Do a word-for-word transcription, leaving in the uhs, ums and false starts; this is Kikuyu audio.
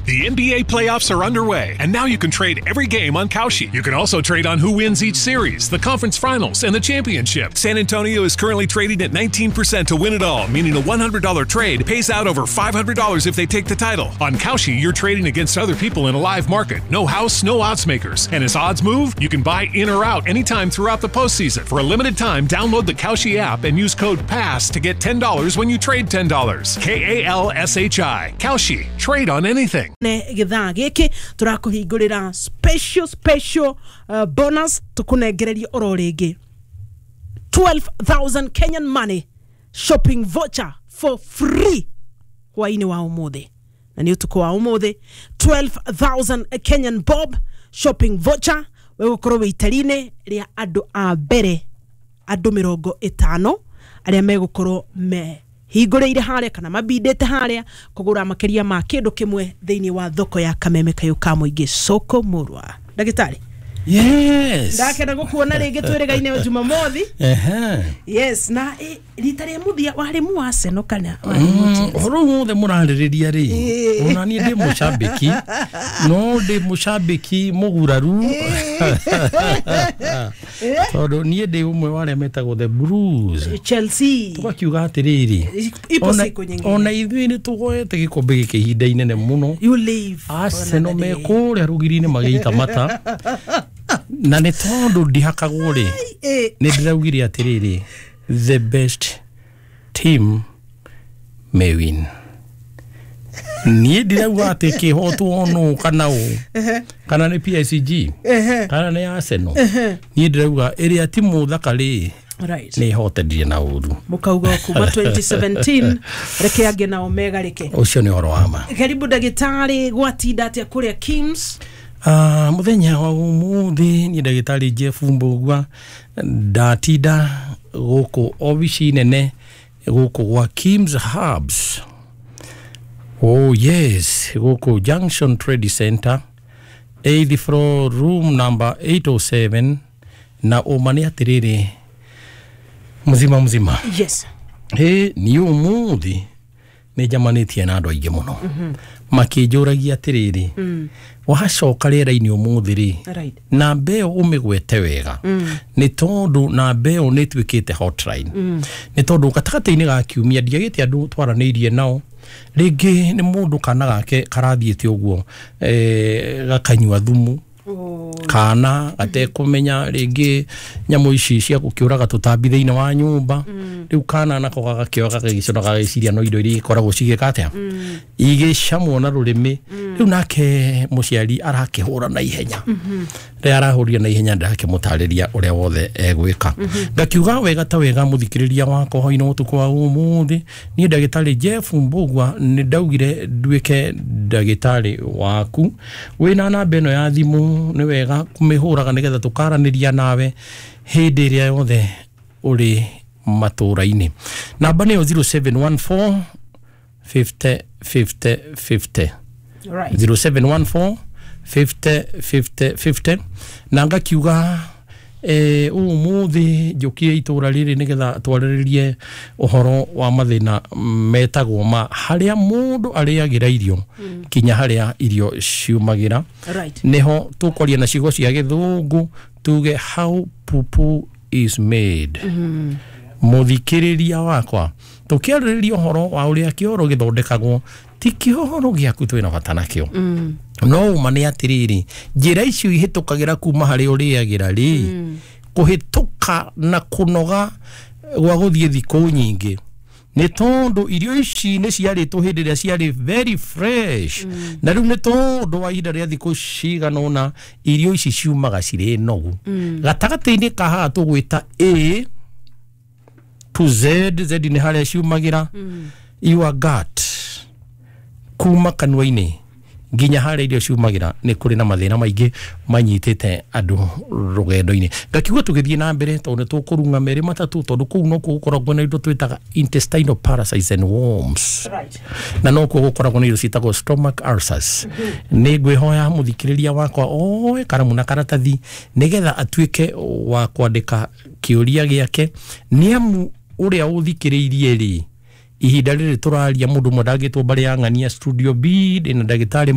The N B A playoffs are underway, and now you can trade every game on Kalshi. You can also trade on who wins each series, the conference finals, and the championship. San Antonio is currently trading at nineteen percent to win it all, meaning a one hundred dollar trade pays out over five hundred dollars if they take the title. On Kalshi, you're trading against other people in a live market. No house, no odds makers. And as odds move, you can buy in or out anytime throughout the postseason. For a limited time, download the Kalshi app and use code PASS to get ten dollars when you trade ten dollars. K A L S H I. Kalshi. Trade on anything. Ne githaa giki turakuhingurira special special uh, bonus tukunengereria oro ringi twelve thousand Kenyan money shopping voucher for free hwaini wa umuthi na ni utuku wa umuthi twelve thousand Kenyan bob shopping voucher wegukorwo wi itarine ria andu a mbere andu mirongo itano aria megukorwo me hingũrĩire harĩa kana mabindĩte harĩa kũgũra makĩria ma kĩndũ kĩmwe thĩinĩ wa thoko ya Kameme Kayũ ka Mũingĩ soko Murwa. Ndagĩtarĩ, yes, ndakenda gũkuona rĩngĩ twĩrĩgaine Jumamothi. Ehe, yes. Na rita rĩa mũthia warĩ mu Arsenal kana warĩ mu Chelsea? Ũhoro wothe mũrarĩrĩria rĩ, ona niĩ ndĩ mũcambĩki, no ndĩ mũcambĩki mũguraru tondũ niĩ ndĩ ũmwe wa arĩa metagwo the Blues, Chelsea. Tũgakiuga atĩrĩrĩ, ipo siku nyingine ona ithuĩ nĩ tũgoete gĩkombe gĩkĩ ihinda inene mũno. You leave Arsenal me kũrĩa rũgiri-inĩ magĩita mata na nĩ tondũ ndihakagwo rĩ, nĩ ndĩraugire atĩrĩrĩ, the best team may win. Niĩ ndirauga atĩ kĩhotwo nũ kana ũ kana nĩ P S G kana nĩ Arsenal. Niĩ ndĩrauga ĩrĩa timu thaka rĩ nĩ ĩhotendire na ũru. Mũkauga kuma twenty seventeen reke angĩ nao megarĩke. Ũcio nĩ ũhoro wa ma. Karibu ndagĩtarĩ, gwatinda atĩa kũrĩa Kims? Ah, muthenya wa umuthi ni ndagĩtarĩ Jeff Mbugua ndatinda gũkũ obici nene gũkũ gwa Kims Herbs. Oh yes, gũkũ Junction Trade Center, eighth floor, room number eight oh seven. Na ũma nĩ atĩrĩrĩ, mzima mzima. Yes. He ni umuthi nĩ njamanĩtie na andũ aingĩ mũno makĩnjũragia atĩrĩrĩ, wacoka rĩera-inĩ ũmũthĩ rĩ, namba ĩyo ũmĩgwete wega nĩ tondũ namba ĩyo nĩ ĩtuĩkĩte hotline. Nĩ tondũ gatagatĩ-inĩ ga kiumia ndiagĩte andũ twaranĩirie nao, rĩngĩ nĩ mũndũ kana gake karathiĩte ũguo gakanyua thumu kana gatekũmenya rĩngĩ nyamũ ici cia gũkĩũraga tũtambi thĩinĩ wa nyũmba. Rĩu kana nako gagakĩoya gagagĩcona gageciria no indo iria ikoragwo cigĩka atĩa, igĩcamwo na rũrĩmĩ. Rĩu nake mũciari arakĩhũra na ihenya, rĩrĩa arahũrire na ihenya ndakĩmũtarĩria ũrĩa wothe egwĩka. Ngakiuga wega ta wega mũthikĩrĩria wakwa hwainĩ ũtukũ wa ũmũthĩ, niĩ ndagĩtarĩ Jeff Mbugua nĩ ndaugire nduĩke ndagĩtarĩ waku. Wĩna namba ĩno ya thimũ nĩ wega kũmĩhũraga nĩgetha tũkaranĩria nawe hĩndĩ ĩrĩa yothe ũrĩ matũra-inĩ. Namba nĩyo zero seven one four fifty fifty fifty. zero seven one four fifty fifty fifty. Na ngakiuga eh ũmũthĩ njũkire itũra rĩrĩ nĩgetha twarĩrĩrie ũhoro wa mathĩna metagwo ma harĩa mũndũ arĩagĩra irio kinya harĩa irio ciumagĩra. Nĩho tũkwaria na ciugo cia gĩthũngũ tuge how poo-poo is made. Mũthikĩrĩria wakwa, tũkĩarĩrĩria ũhoro wa ũrĩa kĩoro gĩthondekagwo, ti kĩoro gĩaku twĩna bata nakĩo. No ũma nĩ atĩrĩrĩ, njĩra icio ihĩtũkagĩra kuma harĩa ũrĩagĩra rĩ, kũhĩtũka na kũnoga gwa gũthiĩ thikũ nyingĩ nĩ tondũ irio ici nĩ ciarĩtwo hĩndĩ ĩrĩa ciarĩ very fresh, na rĩu nĩ tondũ wa ihinda rĩa thikũ cigana ũna irio ici ciumaga cirĩ nogu. Gatagatĩ-inĩ ka haha tũgwĩta A to Z, Z nĩ harĩa ciumagĩra, your gut kuma kanua-inĩ nginya harĩa irio ciumagĩra nĩ kũrĩ na mathĩna maingĩ manyitĩte andũ rũgendo-inĩ. Ngakiuga tũgĩthiĩ na mbere tondũ nĩ tũkũrung'a merĩ matatũ, tondũ kũu nokuo gũkoragwo na indo twĩtaga intestinal parasites and worms, na nokuo gũkoragwo na indo ciĩtagwo stomach ulcers. Nĩ ngwĩhoya mũthikĩrĩria wakwa oe karamu na karatathi nĩgetha atuĩke wa kwandĩka kĩũria gĩake, nĩ amu ũrĩa ũthikĩrĩirie rĩ ihinda rĩrĩ tũraria mũndũ ũmwe ndangĩtwo mbarĩ ya ng'ania studio B ndĩna ndagĩtarĩ